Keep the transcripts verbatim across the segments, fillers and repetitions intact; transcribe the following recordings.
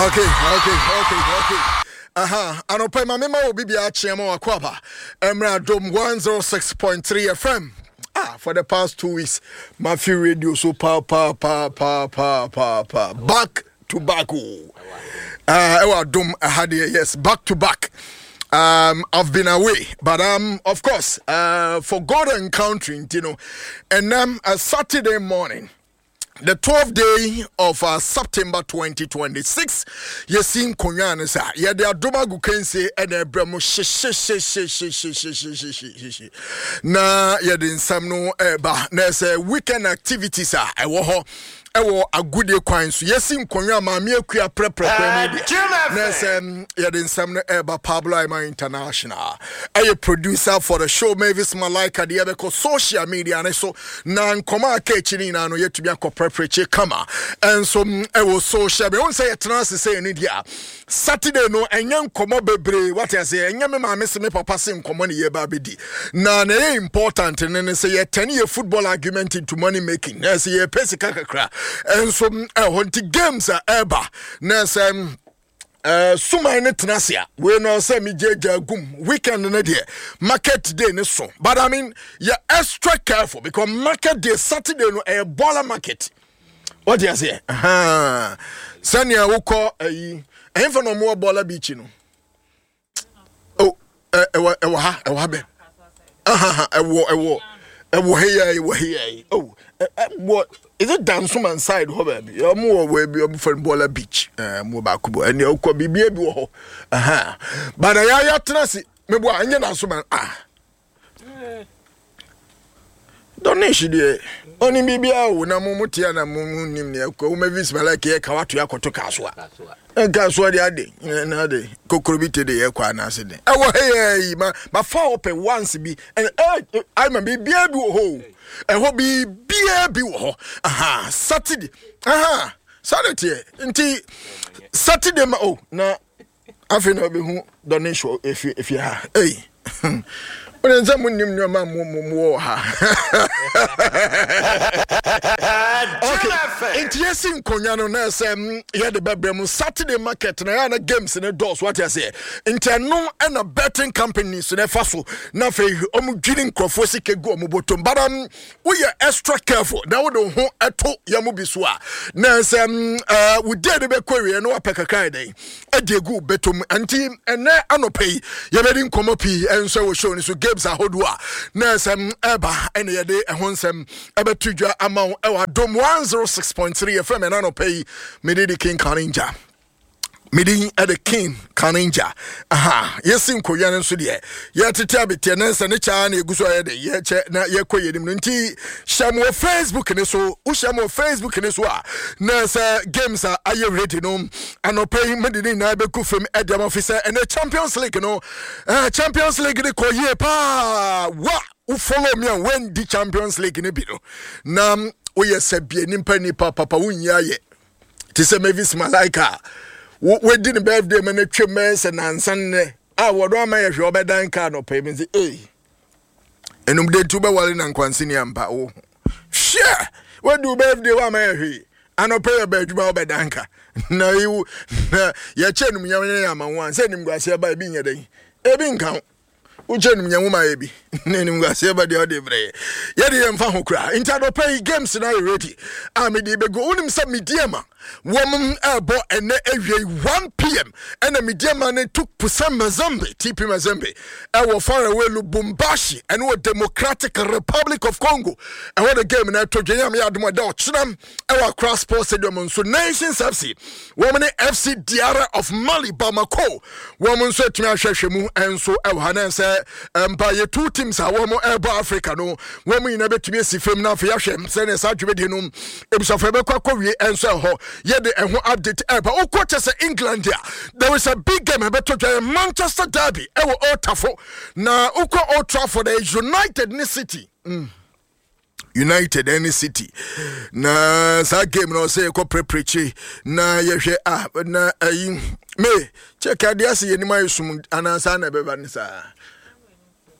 Okay, okay, okay, okay. Aha, anɔpa ma mema wo bibia akyeɛ ma wakɔ aba mmerɛ Adom one oh six point three F M. Ah, for the past two weeks, mafi radio so pa pa pa pa pa pa pa back to back o. Uh, ɛwɔ Adom ɛha deɛ, yes, back to back. Um, I've been away, but um, of course, uh, for God and country, you know, and um, a Saturday morning, the twelfth day of uh, September twenty twenty-six, yɛsi nkonnwa no sa yɛde Adom agu kansie ɛna ɛbrɛ mu hyehyɛhyɛhyɛhyɛhyɛhyɛhyɛ na yɛde nsɛm no ɛreba na ɛsɛ weekend activities a ɛwɔ hɔ ɛwɔ agodie kwan so. Yɛsi nkonnwa maame akua prɛprɛ kwan mu deɛ na ɛsɛ yɛde nsɛm no ɛreba. Pablo Aima International ɛyɛ producer for the show. Mavis Malaika deɛ yɛbɛkɔ social media ne so na nkɔmɔ a aka akyi no nyinaa no yɛtumi akɔ prɛprɛkye kama. Ɛnso ɛwɔ social media wɔn sɛ yɛtena ase sɛ ɛno deɛ a Saturday no ɛnyɛ nkɔmɔ bebree, wate aseɛ? Ɛnyɛ me maame se me papa se nkɔmɔ ne yɛba abɛdi na na ɛyɛ important ne ne sɛ yɛtɛne yɛ football argument into money making na ɛsɛ yɛpɛ sika kakra. Ɛnso ɛhɔ nti games a ɛba na ɛsɛ Uh, suman ne tena ase a wei no sɛ megyagya gum weekend no deɛ market day ne so, but I mean, yɛ extra careful because market day Saturday no ɛyɛ baller market, wɔte aseɛ? Sɛnea wokɔ ayi ɛhemfa na ɔmowɔ baller beach no, oh, ɛwɔ ɛwɔ ha, ɛwɔ ha bɛ ɛwɔ ɛwɔ ɛwɔ ha yi, ɛwɔ ha yi, oh, ɛwɔ, is it Dansoman side hɔ baabi? Ɔmo wɔ baabi ɔmo fɛn baller beach. Ɛɛ mo baako bɔ ɛnna ɔkɔ biribi bi wɔ hɔ ɛhɛn bada yɛ ayɛ tena se mebo a ɛnyɛ Dansoman. Ah, Dɔnish deɛ ɔnim biribiara o na mo mo tia na mo mo nim nea ɛkɔ wo Mavis Malek yɛ ka wato akɔto Kasoa nkasoa de ade na ade kokoro bi te de yɛ kɔ anaase de ɛwɔ ha yɛ yi ma ma fa ɔpɛ once bi ɛn ɛ ayi ma biribiara bi wɔ hɔ o, ɛhɔ biribiara bi wɔ hɔ. Aha, Saturday aha saa teɛ nti Saturday ma o na afei na ɔbɛhu Dɔnish wɔ efi efi ha. Ei, wọ́n sɛ mo nim nneɛma mo mo mo wɔ ha. Okay, nti yɛsi nkonnwa no na ɛsɛ mm, yɛde bɛbrɛ mu Saturday market na yɛa na games ne dɔɔso, wate aseɛ? Nti ɛno ɛna betting companies na ɛfa so na afei ɔmo dwiri nkurɔfoɔ sika gu ɔmo bɔtɔm, but um, woyɛ extra careful na wode wo ho ɛto yɛn mo bi so a na ɛsɛ mm, ɛɛ wo day de bɛkɔ awie na wapɛ kakra yɛ dɛn ɛde egu bɛtɔm. Nti ɛnɛ anɔpɛ yi yɛbɛdi nkɔmɔ pii ɛnso wɔ show no so, games ahodoɔ a na ɛsɛ mm, ɛba ɛna yɛde ɛho nsɛm ɛbɛto dwa ama wo ɛwɔ Adom one oh six point three F M. Ɛna anɔpɛ yi mede di King Kaninja, mede ɛde King Kaninja. Aha, yɛsi nkonnwa no nso deɛ yɛtete abeteɛ ne nsɛ ne kyaa na ɛgu so a yɛde yɛkyɛ na yɛkɔ yɛnim no. Nti hyɛ mo wɔ Facebook ne so, wohyɛ mo wɔ Facebook ne so a na sɛ games a ayɛ ready no anɔpɛ yi mede ne nyinaa bɛgu fam ɛde ama fi sɛ ɛnɛ Champions League no, eh, Champions League ne kɔ yie paa. Wa wo follow me a wendi Champions League ne bi no na woyɛ sɛ bie nipa nipa papa wonyi ayɛ te sɛ Mavis Malaika a wadi ne birthday ma no twam bɛyɛ sɛ nansa nnɛ a wɔdɔ ama yɛ hwɛ ɔbɛdan kaa nɔpɛ mi sɛ ei ɛnum de nti wobɛwale na nkwanseni ampa wo hwɛ wadi wo birthday woama yɛ hwee anɔpɛ yɛ bɛ adwuma wobɛdan ka na yiwu na yɛkyɛ num nyam yɛ ama wo a sɛ nimguaseɛ ba ebi nyɛ dɛn ebi nka ho wokyɛ num nyam ma yɛ bi na nimguaseɛ ba deɛ ɔde brɛ yɛ yɛde yɛn mfa ho koraa. Nti anɔpɛ yi games na ayɛ ready a mede bɛgu. Wonim sɛ Medeama wɔn ɛrebɔ ɛnɛ awie one p m ɛna Medeama ne Tout Puissant Mazembe, T P Mazembe, ɛwɔ faraway Lubumbashi, ɛne wɔ Democratic Republic of Congo ɛwɔ the game na ɛtɔ dwa. Yam yɛ adom ɛda ɔkyena ɛwɔ Accra Sports Stadium nso Nations F C wɔn ne F C Diarra of Mali, Bamako, wɔn nso atumi ahwɛhwɛ mu nso ɛwɔ ha na sɛ mpa yɛ two teams a wɔn ɛrebɔ Africa no wɔn nyinaa bɛtumi asi fam na afei ahwɛ sɛnea saa dwumadie no ebusuafo ɛbɛkɔ akɔwie. Nso ɛhɔ yɛde ɛho update ɛba. Wokɔ kyɛ sɛ England a there is a big game ɛbɛtɔ dwa yɛ Manchester derby ɛwɔ Old Trafford na wokɔ Old Trafford ɛyɛ United ne City. mm. United ɛne City na saa game no ɔsɛ yɛkɔ prɛprɛkye na yɛhwɛ a na ayi me kyɛ adeɛ ase yɛnim ayɛ sum anaasa na ɛbɛba ne saa.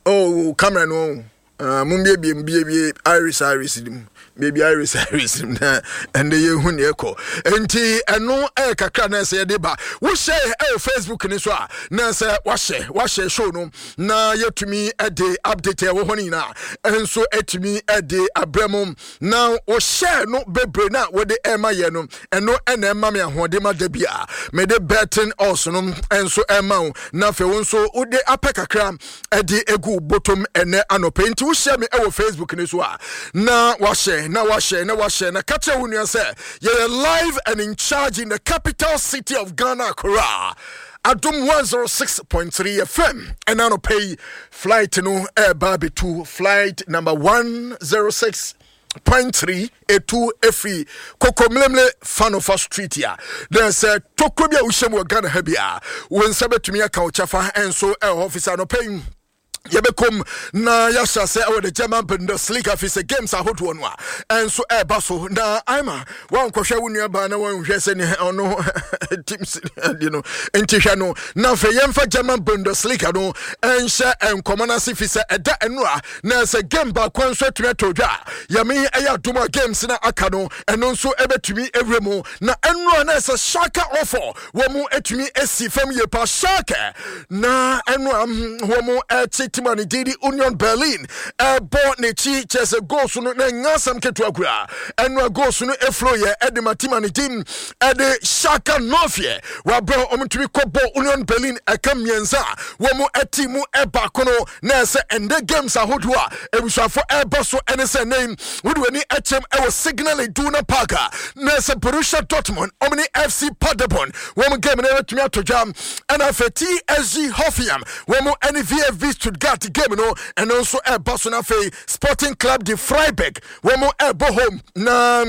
Oh, camera no uh, mumbiebie mbiebie iris iris mu Baabi iris iris na ɛnɛ yɛhu neɛ ɛkɔ. Nti ɛno ɛyɛ kakra na ɛsɛ yɛde ba. Wohyɛ ɛwɔ Facebook ne so a, na sɛ wahyɛ wahyɛ show no na yɛtumi ɛde update ɛwɔ hɔ no nyinaa ɛnso ɛtumi ɛde abrɛ mu. Na wohyɛ no bebree na wode ɛma yɛ no, ɛno ɛna ɛma me ahoɔden ma da bi a mede betting odds no ɛnso ɛma wo, na afei wo nso wode apɛ kakra ɛde egu bɔtɔm ɛnɛ anɔpɛ. Nti wohyɛ me ɛwɔ Facebook ne so a, na wahyɛ na wahyɛ na wahyɛ na ka kyerɛ wo nua sɛ yɛyɛ live and in charge in the capital city of Ghana, Accra, Adom one oh six point three F M. Ɛna anɔpɛ yi flight no ɛɛba abɛtu, flight number one oh six point three etu efiri Kokomlemle Fanofa Street a na sɛ tokuro bi a wohyɛ mu wɔ Ghana ha bi a, wo nsa bɛtumi aka wo kyɛfa ɛnso ɛwɔ hɔ fi sɛ anɔpɛ yi yɛbɛkɔm na yɛahyɛ ase ɛwɔ the German Bundesliga, fi sɛ games ahodoɔ no a ɛnso ɛreba so. Na ama wankɔhwɛ wo nuabaa na wanhwɛ sɛ ne ɔno teams ade no nti hwɛ no. Na afei yɛmfa German Bundesliga no ɛnhyɛ nkɔmmɔ no ase, fi sɛ ɛda ɛno a na sɛ game baako nso atumi atɔ dwa a, yɛme ɛyɛ adom a games no aka no ɛno nso ɛbɛtumi awura mu. Na ɛno a na ɛsɛ Schalke ɔfɔ wɔn mu atumi asi fam yie pa. Schalke na ɛno a wɔn mu ɛte team a ne din de Union Berlin ɛbɔ n'akyi, kyerɛ sɛ goals no na ɛnya asɛm ketewa koraa. Ɛno a goals no eflow yɛ ɛde ma team a ne din ɛde Schalke Nɔfiɛ wabrɛ wɔn tumi kɔbɔ Union Berlin ɛka mmiɛnsa a wɔn mu ɛte mu ɛbaako no. Na ɛsɛ ɛndɛ games ahodoɔ a ebusuafo ɛbɔ so ɛne sɛ nɛn wode w'ani ɛkyɛm ɛwɔ Signal Iduna Park a, na ɛsɛ Borussia Dortmund wɔn ne F C Paderborn wɔn game no ɛbɛtumi ato dwa. Ɛna afei T S G Hoffenheim wɔn ɛne V F B Stuttgart game no ɛno nso ɛba so. Na afei Sporting Club de Freiburg wɔn ɛbɔ home, na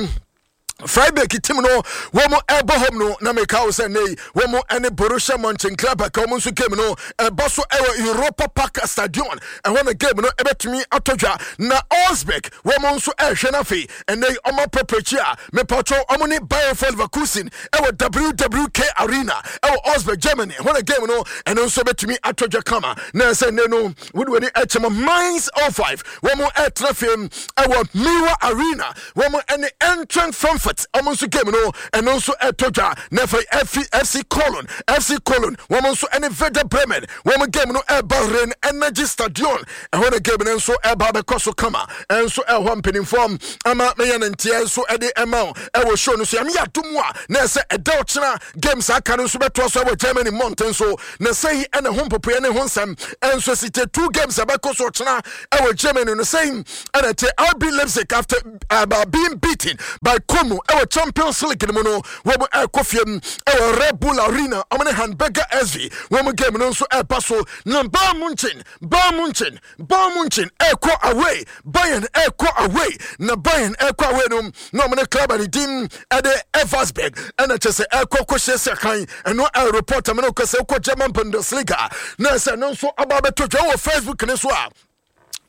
Freiburg team no wɔn ɛbɔ home no, na meka wo sɛ nei wɔn ɛne Borussia Mönchengladbach wɔn nso game no ɛbɔ so ɛwɔ Europa Park Stadion. Ɛhɔ na game no ɛbɛtumi atɔ dwa. Na Augsburg wɔn nso ɛrehwɛ no. Afei ɛnɛ yi ɔmo apɛpɛkyi a mepatwɔ ɔmo ne Bayer Leverkusen ɛwɔ W W K Arena ɛwɔ Augsburg, Germany. Ɛhɔ na game no ɛno nso bɛtumi atɔ dwa kama. Na ɛsɛ nnɛ no wode w'ani ɛkyɛm Mainz oh five wɔn ɛtena fam ɛwɔ Mewa Arena, wɔn ɛne Eintracht Frankfurt wɔn nso game no ɛno nso ɛtɔ dwa. Na afei F C Cologne F C Cologne wɔn nso ɛne Werder Bremen wɔn game no ɛba Rhein Energy Stadion. Ɛhɔ na game no nso ɛba abɛkɔ so kama. Ɛnso ɛhɔ mpanimfoɔ ama meyɛ ne nteɛ nso ɛde ɛma wo ɛwɔ show no so. Yɛn yɛ atom a, na ɛsɛ ɛda ɔkyena games aka no nso bɛtoa so ɛwɔ Germany mmɔnten so. Na sɛyi ɛna ho mpopoeɛ ne ho nsɛm ɛnso si te. Two games ɛbɛkɔ so ɔkyena ɛwɔ Germany no, sɛyi ɛna te R B Leipzig, after uh, being beaten by Como ɛwɔ Champions League no mu no, wɔn ɛkɔ fie mu ɛwɔ Red Bull Arena, wɔn ne Hamburger S V wɔn game no nso ɛba so. Na Bayern Munchen Bayern Munchen Bayern Munchen ɛkɔ away, Bayern ɛkɔ away. Na Bayern ɛkɔ away no, na wɔn ne club a ne din ɛde Elversberg ɛna kyɛ sɛ ɛkɔ kɔhyɛ sɛ kan. Ɛno ɛyɛ report ɛmɛ no kɔ sɛ ɛkɔ German Bundesliga na ɛsɛ ɛno nso aba abɛto dwa wɔ Facebook ne so a,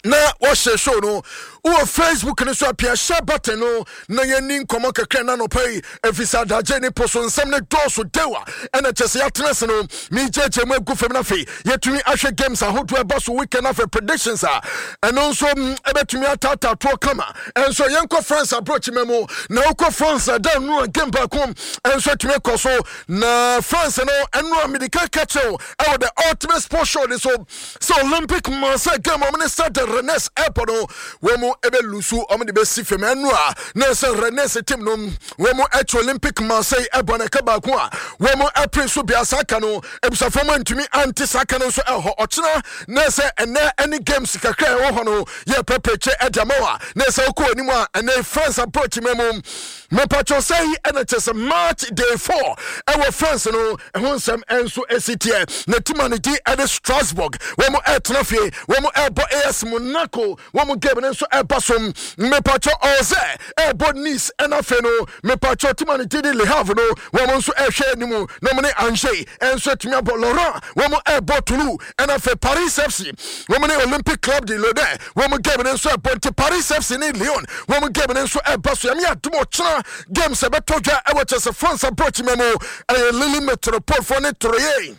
na wɔhyɛ show no wɔ Facebook no so apia share button no na yɛni nkɔmmɔ kakra na nɔpa yi, ɛfiri sɛ adagye ne po so nsɛm ne dɔɔso dewa. Ɛna kyɛ sɛ yɛatena se no megyegye mu agu fam no, afei yɛtumi ahwɛ games ahodoɔ ɛba so weekend, afei predictions a ɛno nso ɛbɛtumi ataataa toɔ kama. Ɛnso yɛnkɔ France aborɔkyima mu. Na wokɔ France ɛda no a, game baako ɛnso atumi kɔ so. Na France no ɛno a mede ka ka kyerɛw ɛwɔ The Ultimate Sports Show ne so sɛ Olympic Marseille game ɔmo ne Stade Rennes airport no, wɔn mu ɛbɛ lose, ɔmo de bɛsi fam. Ɛno a na sɛ Rennes team no wɔn mu ɛkyi Olympic Marseille ɛbɔ no ɛka baako a wɔn mu ɛpere so bia saa ka no, ebusuafo mu ntumi ante saa ka no nso ɛhɔ. Ɔkyena na sɛ ɛnɛ ɛne games kakra ɛwɔ hɔ no yɛ pɛpɛkyɛ ɛde ama wa. Na sɛ wokɔ anim a, ɛnɛ France approach mu mu mepatwɛ sɛ yi ɛna kyɛ sɛ match day four ɛwɔ France no ɛho nsɛm ɛnso ɛsi teɛ. Na team a ne din ɛde Strasbourg wɔn mu ɛtena fie, wɔn mu ɛbɔ A S Monaco wɔn mu game no nso ɛba so. Mepatwɛ ɔsɛ ɛbɔ Nice. Ɛna afei no mepatwɛ team a ne din de Le Havre no wɔn nso ɛhwɛ anim na wɔn ne Angers ɛnso atumi abɔ. Lorient wɔn mu ɛbɔ Toulouse. Ɛna afei Paris F C wɔn ne Olympic Club de Lodin wɔn mu game no nso ɛbɔ. Nti Paris F C ne Lyon wɔn mu game no nso ɛba so. Yɛn yɛ adum ɔkyena games ɛbɛtɔ dwa ɛwɔ kyɛ sɛ France approach mu ɛyɛ Lille Metropole foɔ ne Troyes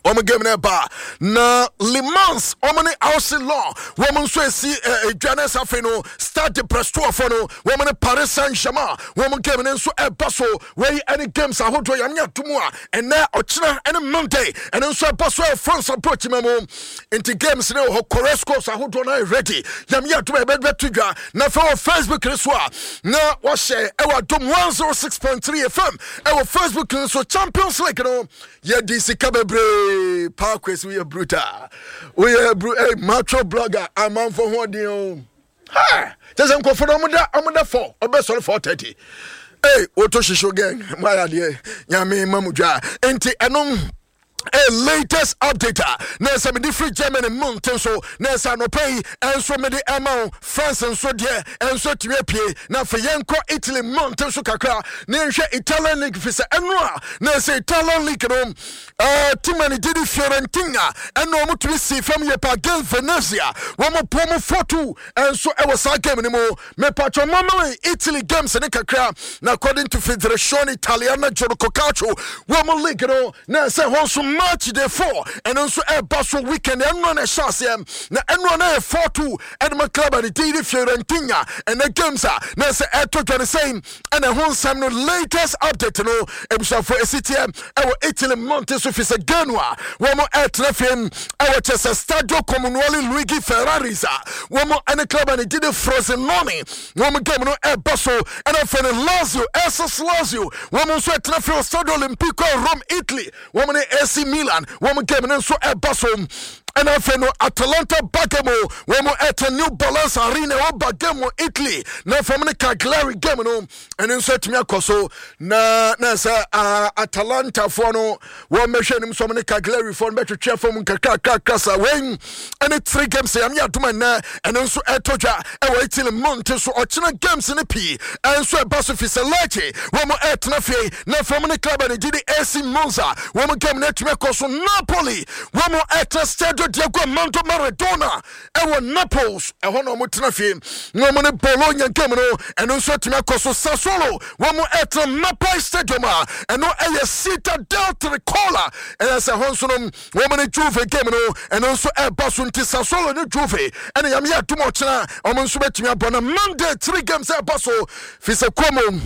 Wɔn game no ɛba na Le Mans, wɔn ne A C Lens, wɔn nso esi edwa ne nsa. Afei no, Stade de Brestois no, wɔn ne Paris Saint Germain, wɔn game no nso ɛba so. Wɔyi ɛne games ahodoɔ yɛn atom a ɛnɛ, ɔkyena ɛne Monday ɛno nso ɛba so ɛwɔ France approach ma mu. Nti games no wɔ hɔ, correct scores ahodoɔ no ayɛ ready. Yɛn atom a yɛbɛbɛto dwa na afei wɔ Facebook no so a na wɔhyɛ ɛwɔ Adom one oh six point three F M ɛwɔ Facebook no so. Champions League no, yɛdi sika bebree paa. Kwesi, woyɛ brutal, woyɛ bru eh, macho blogger. Amanfo ho ɔden o. Ha kyɛ sɛ nkurɔfoɔ no ɔmoda ɔmoda four, ɔbɛsɔre four thirty. Ee, woto hyehyɛ gang mo ayɛ adeɛ. Nyame ma mo dwa. Nti ɛno a latest update a na ɛsɛ mede firi Germany mmɔnten so na ɛsɛ anɔpa yi ɛnso mede ɛma wo. France nso deɛ ɛnso atumi apue. Na afei yɛnkɔ Italy mmɔnten so kakra na yɛnhwɛ Italian league, fi sɛ ɛno a na ɛsɛ Italian league no, uh, team a ne gye di Fiorentina ɛna wɔn tumi si fam yɛ pa against Venezia. Wɔn bɔ mu four two ɛnso ɛwɔ saa game no mu. Mepatwɔ mamale Italy games ne kakra na according to Federazione Italiana Gioco Calcio, wɔn league no na ɛsɛ hɔ nso match day four ɛno nso ɛba so weekend. Ɛno na ɛhyɛ aseɛ na ɛno na yɛ four two ɛde ma club a ne din de Fiorentina. Ɛnɛ games a na ɛsɛ ɛtɔ dwa ne sɛn ɛna ɛho nsɛm no, latest update no, abusuafo, esi teɛ ɛwɔ Italy mmɔnten so, fi sɛ Genoa wɔn ɛtena fam ɛwɔ kyɛ sɛ Stadio Comunale Luigi Ferraris a wɔn ɛne club a ne din de Frosinone, wɔn game no ɛba so. Ɛna afei no Lazio, S S Lazio, wɔn nso ɛtena fam Stadio Olimpico, Rome, Italy. Wɔn ne A C Milan, wɔn game no nso ɛba so. Ɛna afei no Atalanta Bergamo, wɔn ɛtɛ New Balance Arena ɛwɔ Bergamo, Italy, na afei ne Cagliari game no ɛno nso atumi akɔ so. Na na sɛ uh, Atalantafoɔ no wɔn bɛhwɛ anim so wɔn ne Cagliarifoɔ no bɛtwetwe fam nkakrakrakra sa. Wɔn ɛne three games yɛn yɛ adum ɛnɛ ɛno nso ɛtɔ dwa ɛwɔ Italy mmɔnten so. Ɔkyena games no pii ɛnso ɛba so, fi sɛ Lecce wɔn ɛtena fie na afei wɔn ne club a ne gye di A C Monza, wɔn game no atumi akɔ so. Napoli wɔn ɛtena Stadio Diego Armando Maradona ɛwɔ Naples, ɛhɔ na wɔn tena fie na wɔn ne Bologna game no ɛno nso atumi akɔ so. Sassuolo wɔn ɛtena Mapei Stadium a ɛno ɛyɛ Città del Tricolore, ɛyɛ sɛ hɔ nso no wɔn ne Juve game no ɛno nso ɛba so. Nti Sassuolo ne Juve ɛna yam yɛ adum ɔkyena wɔn nso bɛtumi abɔ. Na Monday three games ɛba so, fi sɛ Como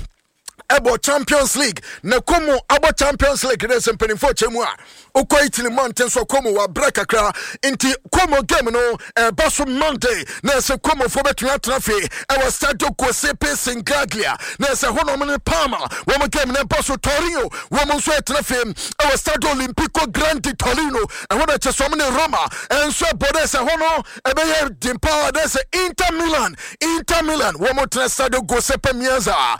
ɛbɔ Champions League, na Como abɔ Champions League ne sɛ mpanimfoɔ kyɛ mu a wokɔ Italy mmɔnten so, Como wabrɛ kakra. Nti Como game no ɛba so Monday na ɛsɛ Comofoɔ bɛtumi atena fie ɛwɔ Stadio Giuseppe Sinigaglia na ɛsɛ hɔnom ne Parma, wɔn game no ɛba so. Torino wɔn nso ɛtena fie ɛwɔ Stadio Olimpico Grande Torino, ɛhɔ na ɛkyɛ sɛ wɔn ne Roma ɛnso ɛbɔ dɛ sɛ hɔ no ɛbɛyɛ den paa dɛ sɛ Inter Milan Inter Milan wɔn tena Stadio Giuseppe Meazza.